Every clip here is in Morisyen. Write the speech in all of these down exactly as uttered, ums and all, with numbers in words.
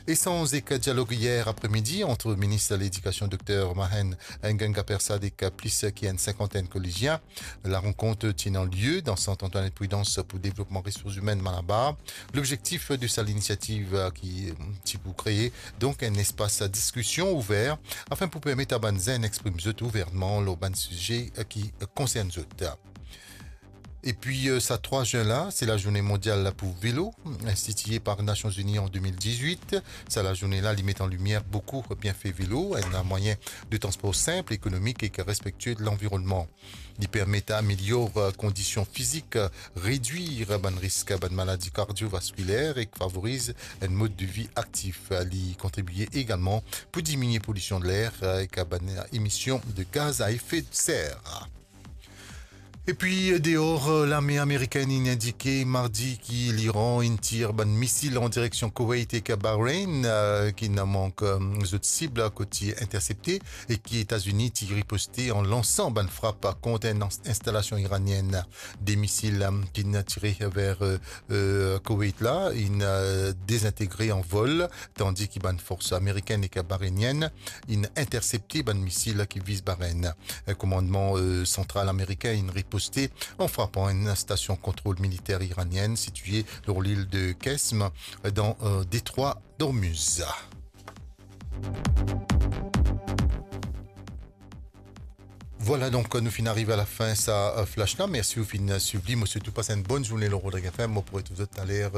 Esanz ek dialog yer apremidi ant minis ledikasion Dokter Mahen Ganga Persad ek plis ki enn sinkantenn kolezien. Larenkont ti ena lie dan Sant Antoinette Prudence pou devlopman resours imenn Malabar. Lobzektif de sa linisiativ, eh, ki, eh, ti pou kree donk enn lespas diskision ouver afin pou permet a bann zenn exprim zot ouvèrman lor bann size, eh, ki, eh, konsern zot. Epi, eh, sa trwa zin la, se lazourne mondial pou velo, institie par Nasion Zini an de mil diz-wit. Sa lazourne la, li met an limier boukou bienfe velo, enn mwayin de transpor sinp, ekonomik ek respektie de lanvironnman. Li permet amelior, eh, kondision fizik, eh, redwir bann risk bann maladi kardiovaskiler ek favoriz enn mod de vi aktif. Li kontribie egalman pou diminie polision de ler, eh, ek bann emision de gaz a efe de ser. Epi, eh, deor, eh, larme amerikenn inn indike mardi ki Liran inn tir bann misil an direksion Koweït ek Bahreïn, eh, ki inn mank, eh, zot sib kot ti intersepte, e ki Etazini ti riposte an lansan bann frap kont enn ins-, instalasion iranienn. De misil, eh, ki inn tire ver, eh, eh, Koweït la, inn, eh, dezintegre an vol, tandi ki bann fors amerikenn ek bahreinienn inn intersepte bann misil ki viz Bahreïn. Eh, komandman, eh, santral ameriken inn riposte an frapan enn stasion kontrol militer iranienn sitie lor lil de Qeshm, eh, dan, eh, detrwa Dormuz. Vwala, donk, nou finn ariv a lafin sa, eh, flash la. Mersi ou finn swiv li. Mo swet ou pas enn bonn zourne lor Rodriguez F M. Mo pou retrouv zot taler,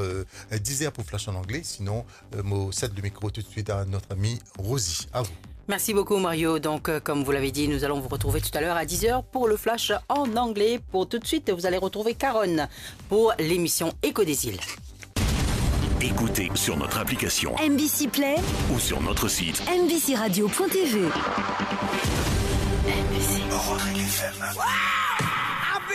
eh, diz er pou flash an angle. Sinon, eh, mo sed le mikro toutswit a notre ami Rosie. A vou. Merci beaucoup, Mario. Donc, euh, comme vous l'avez dit, nous allons vous retrouver tout à l'heure à dix heures pour le flash en anglais. Pour tout de suite, vous allez retrouver Caron pour l'émission Écho des îles. Écoutez sur notre application M B C Play ou sur notre site M B C radio point T V. M B C. Rodriguez F M.